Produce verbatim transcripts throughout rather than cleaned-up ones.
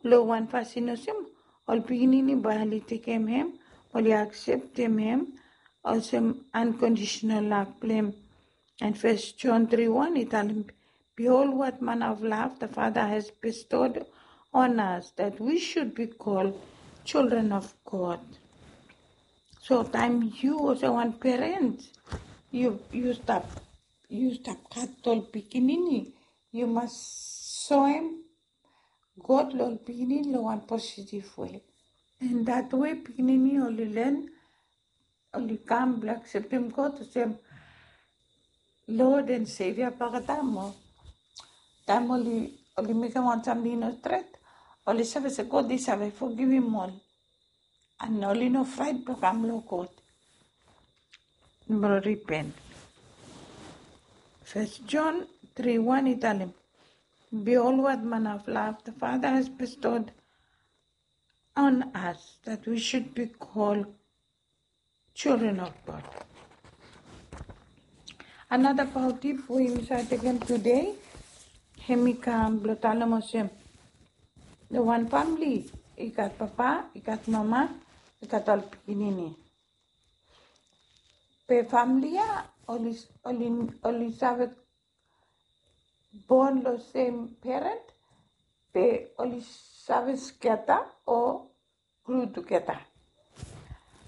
Long wan fasin olsem, ol pikinini bae oli tekem hem, oli akseptem hem olsem unconditional love blong hem. And First John three one, i talem, "Behold what manner of love the Father has bestowed on us, that we should be called children of God." So taem yu olsem wan parent, yu, yu stap, yu stap gat ol pikinini, yu mas soem God long ol pikinini long wan positive way. And that way pikinini oli learn, oli kam blong akseptem God olsem Lord and Savior baktaem. Taem oli, oli mekem wan samting i no stret, oli save se God i save fogivim ol. And oli no fraet blong kam long God blong ripen. First John three one i talem, "Behold what manner of love the Father has bestowed on us, that we should be called children of God." Another paotip we yumi save tekem tede, hemi kam blong talem olsem, long wan famili i gat papa, i gat mama, i gat ol pikinini. Be famili ya oli, oli, oli save bon long sem parent, be oli save skata o glu tugeta.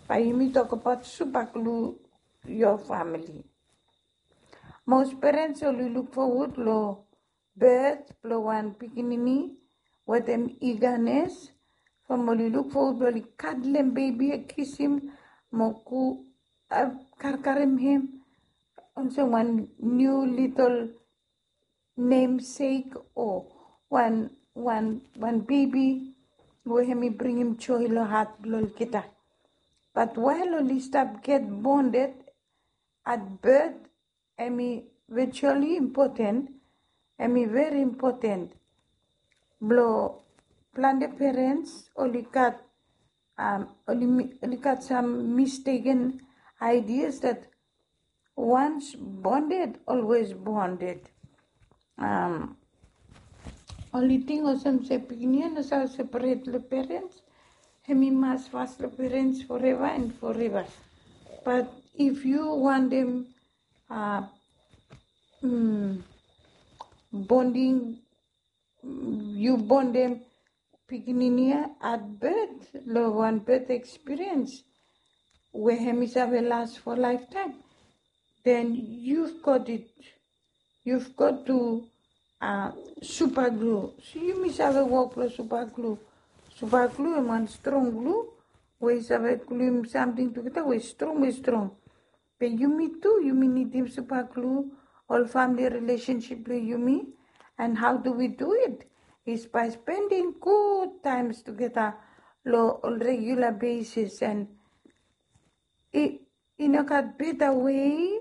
Bae yumi tokbaot super glue your family. Most parents oli luk fowod long birth blong wan pikinini wetem eagerness, from oli luk fowod blong oli kadlem bebi, kisim, mo go, uh, karkarem hem olsem wan niu litol namesake o wan, wan, wan bebi we hemi bringim joe long hat blong olgeta. But while oli stap get bonded at birth, hemi virtually important, hemi very important. Blong plante parents oli gat, um, oli mi-, oli gat some mistaken ideas that once bonded, always bonded. Um, oli ting olsem se pikinini ya no save separate long parents, hemi mas fas long parents forever and forever. But if yu wantem, uh, mm, bonding, mm, yu bondem pikinini ya at birth, long wan birth experience we hemi save last for lifetime, then you've got it. You've got to, uh, super glue. So yumi save wok long super glue. Super glue hem wan strong glue we i save gluim samting tugeta we strong, we strong. Be yumi tu, yumi nidim super glue ol family relationship blong yumi. And how do we do it? Is by spending good times tugeta long ol regular basis. And i, i no gat beta way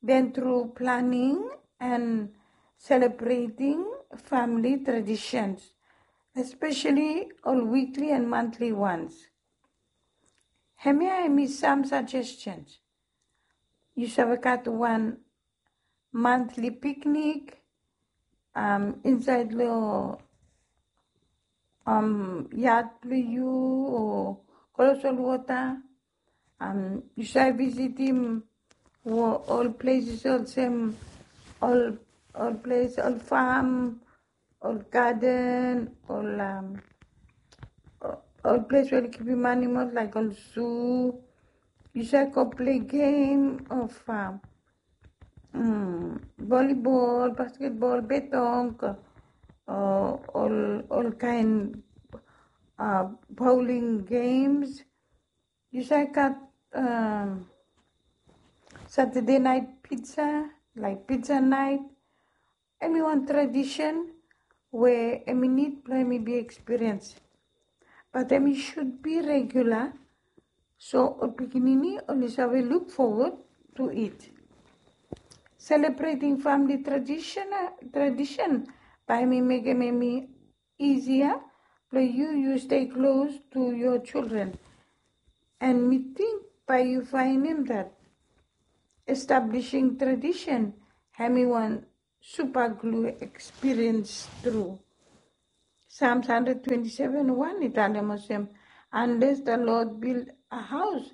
than through planning and celebrating family traditions, especially ol weekly and monthly ones. Hemia hemi sam suggestions. Yu save gat wan monthly picnic, um, insaed long, um, yad blong yu o klos ol wota. Um, yu save visitim ol places olsem ol, ol ples, ol fam, ol gaden, ol, um, ol ples we oli kipim animal laik ol zoo. Yu save go play game of, um, mm, volleyball, basketball, betong, o ol, ol kaen, uh, bowling games. Yu save gat, um, Saturday night pizza, laik pizza night. Hemi wan tradition we hemi nid blong hemi bi experience. But hemi should be regular, so ol pikinini oli save look forward to it. Celebrating family tradition, uh, tradition bae hemi mekem hemi easier blong yu, yu stay close to your children. And mi ting bae yu faenem that establishing tradition hemi wan super glue experience tru. Psalms hundred twenty-seven one i talem olsem, "Unless the Lord build a house,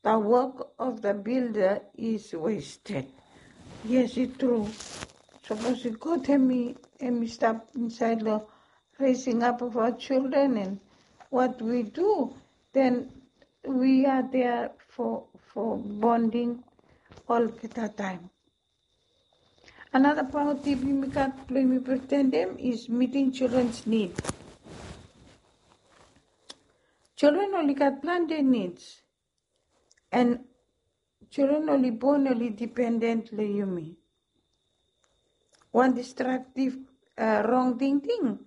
the work of the builder is wasted." Yes, i tru. Sapos God hemi, hemi stap insaed long raising up of our children and what we do, then we are there for, for bonding olgeta taem. Another paoa tip yumi gat blong yumi pretendem is meeting children's need. Children oli gat plante needs. And children oli bon oli dependent long yumi. Wan destructive, uh, wrong tingting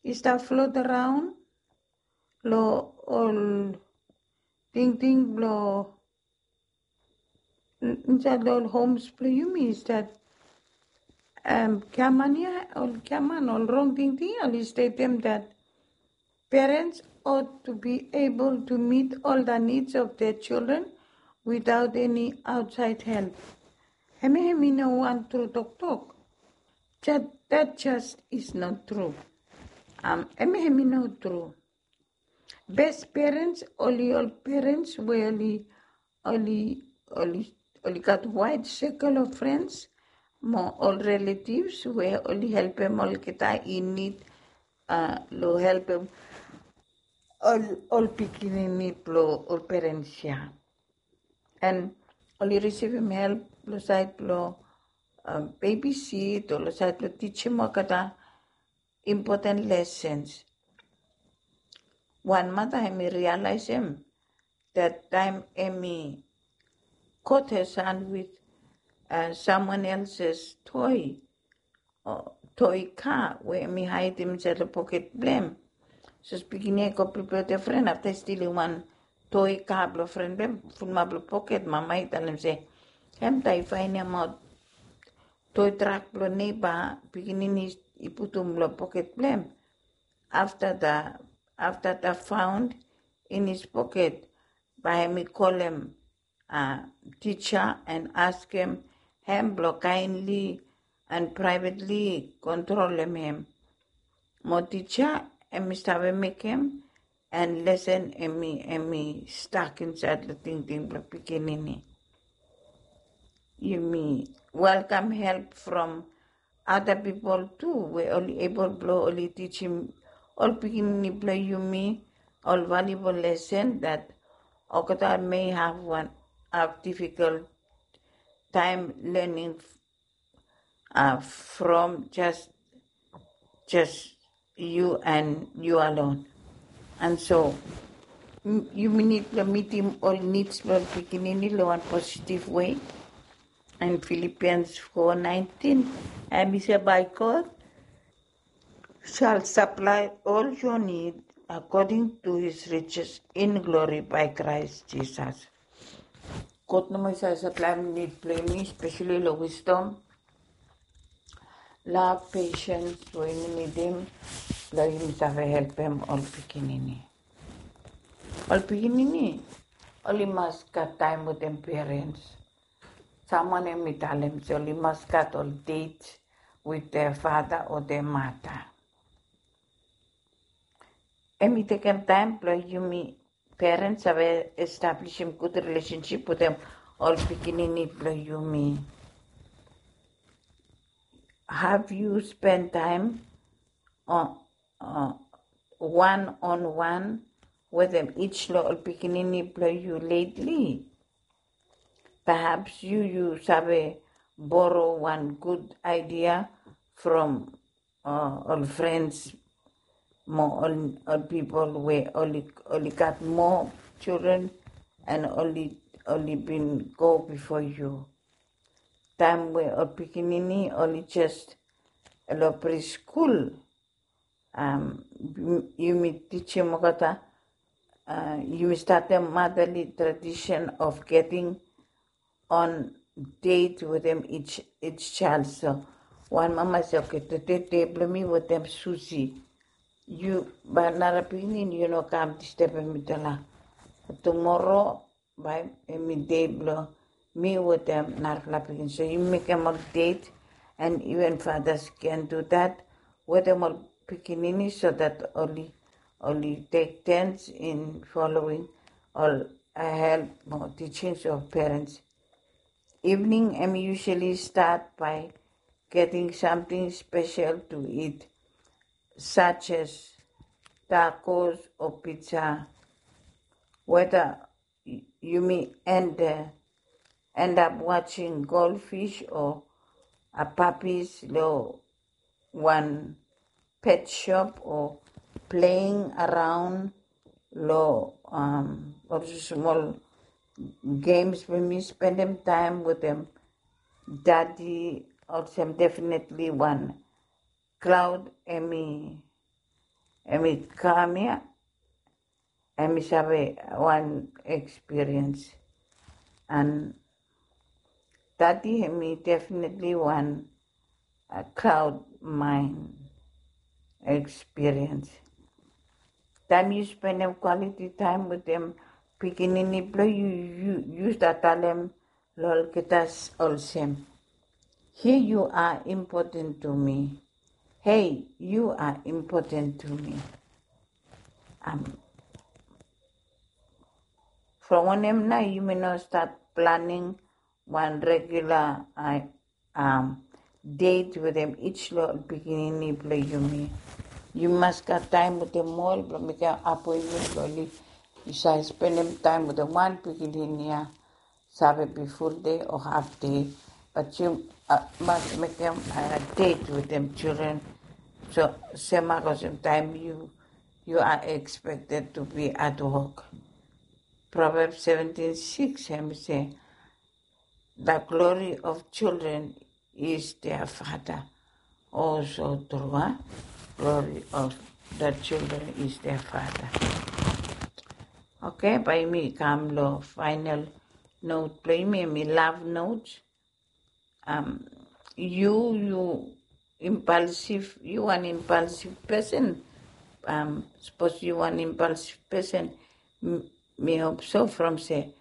i stap float around long ol tingting blong insaed long ol homes blong yumi is that, um, giaman ia, ol giaman, ol wrong tingting ia oli stetem that parents ought to be able to meet all the needs of their children without any outside help. Hemia hemi no wan tru toktok. That, that just is not true. Um, hemia hemi no tru. Best parents oli ol parents we oli, oli, oli, oli gat wide circle of friends mo ol relatives we oli helpem olgeta i nid, uh, long helpem ol, ol pikinini blong ol parents ia. And oli risivim help long saed blong, um, babysit o long saed blong tijim olgeta important lessons. Wan mata hemi realizem that taem hemi caught her son with, uh, someone else's toy, o toy car we hemi haedem insaed long poket blong hem. Sapos pikinini ia i go prepare wetem fren, afta i stilim wan toy car blong fren blong hem, fulumap long poket, mama i talem se, hemtaem i faenemaot toy truck blong neighbor, pikinini i putum long poket blong hem. After the, after the found in his pocket, bae hemi kolem, uh, teacher and askem hem blong kindly and privately kontrolem hem. Mo teacher hemi save mekem and lesen hemi, hemi stak insaed long tingting blong pikinini. Yumi welcome help from other people tu we oli able blong oli tijim ol pikinini blong yumi ol valuable lesson that olgeta may have wan, have difficult time learning, uh, from just, just you and you alone. And so, m-, yumi nid blong mitim ol needs blong pikinini long wan positive way. And Philippians four nineteen, hemi se, "My God shall supply all your need according to his riches in glory by Christ Jesus." God nomo i save saplaem nid blong yumi, especially long wisdom, love, patience we yumi nidim blong yumi save helpem ol pikinini. Ol pikinini oli mas gat taem wetem parents. Samwan hemi talem se oli mas gat ol date with their father o their mother. Hemi tekem taem blong yumi parents save establishim gud relationship wetem ol pikinini blong yumi. Have you spend time on, uh, one on one wetem each long ol pikinini blong yu lately? Perhaps yu, yu save boro wan gud idea from, uh, ol friends mo ol, ol pipol we oli, oli gat moa children and oli, oli bin go bifo yu. Taem we ol pikinini oli jes long preschool, um, yumi tijim olgeta, uh, yumi statem motherly tradition of getting on date wetem each, each child. So wan mama i se, "Okay, tede dei blong mi wetem Susie. Yu, bae nara pikinini yu no kam distebem mitala. Tumoro bae hemi dei blong mi wetem narafala pikinini." So yu mekem ol date, and even fathers can do that, wetem ol pikinini so that oli oli take turns in following ol help mo teachings of parents. Evening hemi usually start by getting something special to eat, such as tacos or pizza. Whether yumi end, uh, end up watching goldfish or a puppies lo wan pet shop or playing around lo um, ol small games blong yumi spendem time wetem daddy. Olsem definitely wan cloud hemi hemi kam ia. Hemi save wan experience and daddy hemi definitely wan cloud mind experience. Taem yu spendem quality time wetem pikinini blong yu, yu start talem lo olgeta olsem, here you are important to me. Hey, you are important to me. Um, from wanem nao yumi no start planning wan regular uh, um, date wetem each lo pikinini blong yumi. Yu mas gat taem wetem ol blong mekem appointment blong oli yu save spendem taem wetem wan pikinini ia. Save be full day o half day, but yu uh, mas mekem uh, date wetem children. So same goes in time you you are expected to be at work. Proverbs seventeen six hemi se, the glory of children is their father. Also true, huh? Glory of the children is their father. Okay, bae yumi kam lo final note blong yumi, hemi love note. Um, yu yu impulsive, yu wan impulsive person. Um, sapos yu wan impulsive person, mi hope so from se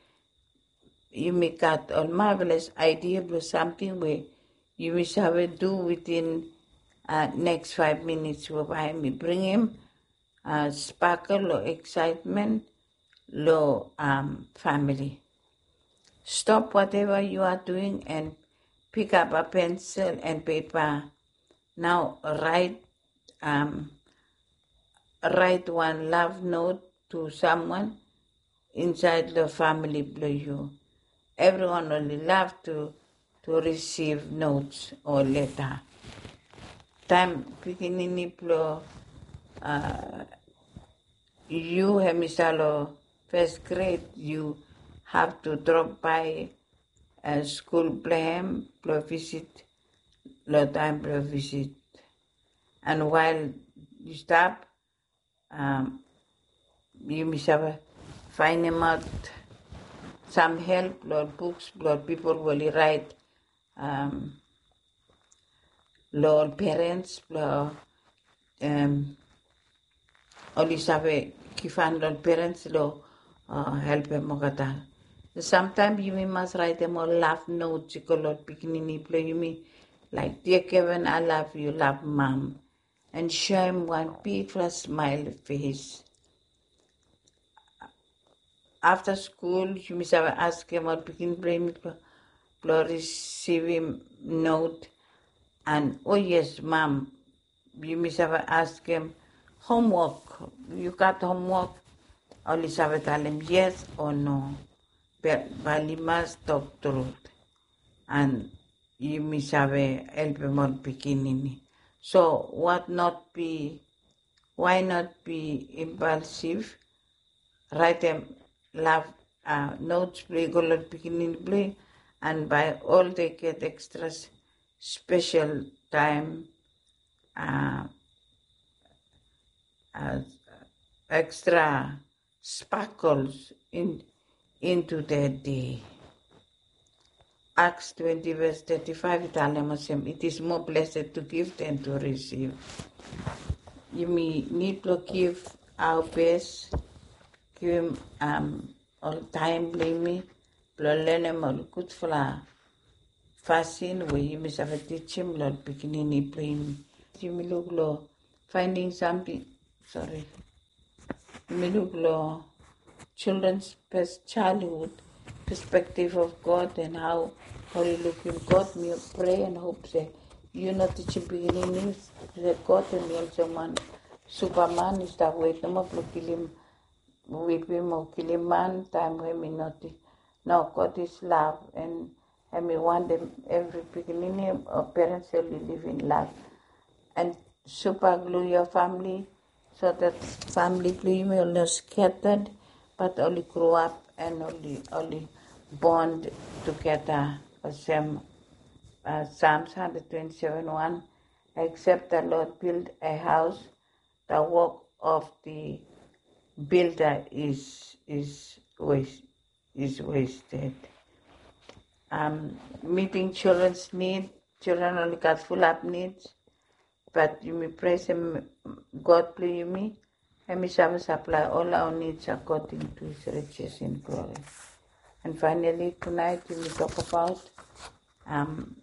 yumi gat ol marvelous idea blong samting we yumi save du within uh, next five minutes we bae mi bringim uh, sparkle o excitement lo um, family. Stop whatever you are doing and pick up a pencil and paper. Now write um, write one love note to someone inside the family blong yu. Everyone only love to to receive notes o leta. Taem pikinini blong uh, yu hemi stap lo first grade, yu have to drop by uh, skul blong hem blong visit lo taem blong visit. And while yu stap, um, yumi save faenemaot sam help lo ol books blong ol pipol we oli raet um, lo ol parents blong um, oli save givhan lo ol parents lo uh, helpem olgeta. Samtaem yumi mas raetem ol love notes i go lo ol pikinini blong yumi, like, dear Kevin, I love you, love mom, and show him one big smile face. After school yumi save askem ol pikin blong yumi blong risivim note. And oh yes, mom, yumi save askem homework. You got homework? Oli save talem yes o no. Bae oli mas tok trut. And yumi save helpem ol pikinini. So what not be, why not be impulsive? Raetem love uh, notes blong yu go lo pikinini blong yu, and bae ol they get extra special time, uh, uh, extra sparkles in into their day. Acts twenty verse thirty-five i talem olsem, it is more blessed to give than to receive. Yumi nid blong give our best, givim um, ol taem blong yumi blong lenem ol gudfala fasin we yumi save tijim lo ol pikinini blong yumi. Yumi luk lo finding something, sorry, yumi luk long children's pers- childhood perspective of God and how oli lukim God. Mi pray and hope se yu no tijim pikinini se God hemi olsem wan superman i stap wet nomo blong kilim, wipim o kilim man taem we hemi noti. No, God is love and hemi wantem evri pikinini o parents oli live in love. And super glue your family so that family blong yumi oli no scattered, but oli grow up and oli, oli bond together. Olsem, uh, Psalms hundred twenty-seven one, "Except the Lord build a house, the work of the builder is, is waste, is wasted." Um, meeting children's need, children oli gat fulap needs, but yumi pray se God blong yumi hemi save supply all our needs according to his riches in glory. And finally, tonight yumi talk about, um,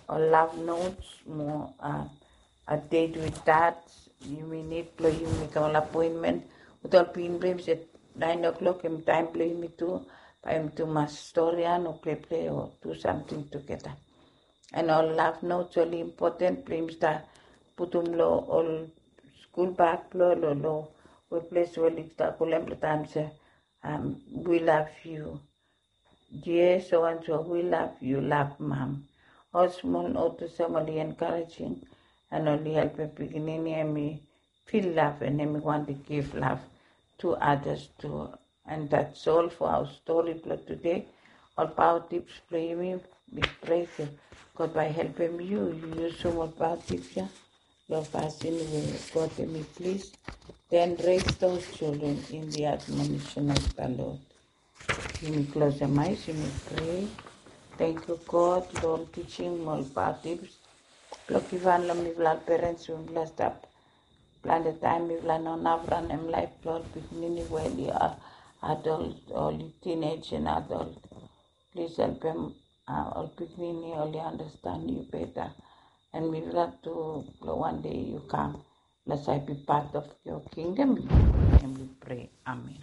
ol love notes mo, uh, update with that. Yumi nid blong yumi mekem ol appointment with ol pikinini blong yumi se nine o'clock hemi taem blong yumi tu, bae yumi tu mas storian o pleplei o do samting tugeta. And ol love notes oli important blong yumi stap putum long ol skul bag blong ol, long weples we oli stap pulem long taem se, um, we love you. Yes, so and so, we love you, love mom. Ol smol note olsem oli encouraging and oli helpem pikinini hemi feel love and hemi wantem give love to others too. And that's all for our story blong today. Ol paoa tips blong yumi, mi pray se God bae helpem yu, yu yusum ol paoa tips ya long fasin we God hemi plis. Then raise those children in the admonition of the Lord. Yumi klosem ae, yumi pray. Tangkiu God long ol tijing mo ol paoa tips blong givhan long mifala ol parents we mifala stap plante taem mifala no naf ranem laef blong ol pikinini we oli, uh, adult, oli teenage and adult. Plis helpem, uh, ol pikinini oli understand yu beta. And mifala tu blong wan dei yu kam blong save be part of your kingdom. And we pray. Amen.